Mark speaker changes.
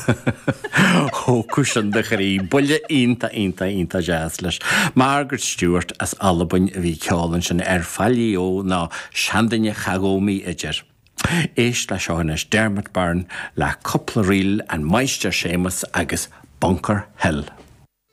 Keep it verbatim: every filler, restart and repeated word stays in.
Speaker 1: Thógfadh sin do chroí, buille iontach iontach iontach deas leis. Margaret Stewart as Albain a bhí ag ceol ansin ar Faillí Ó ná seanduine cha ghabh mé idir. Éist le seo anois Dermot Byrne le cúpla ríl an Máistir Séamus agus Bunker Hill.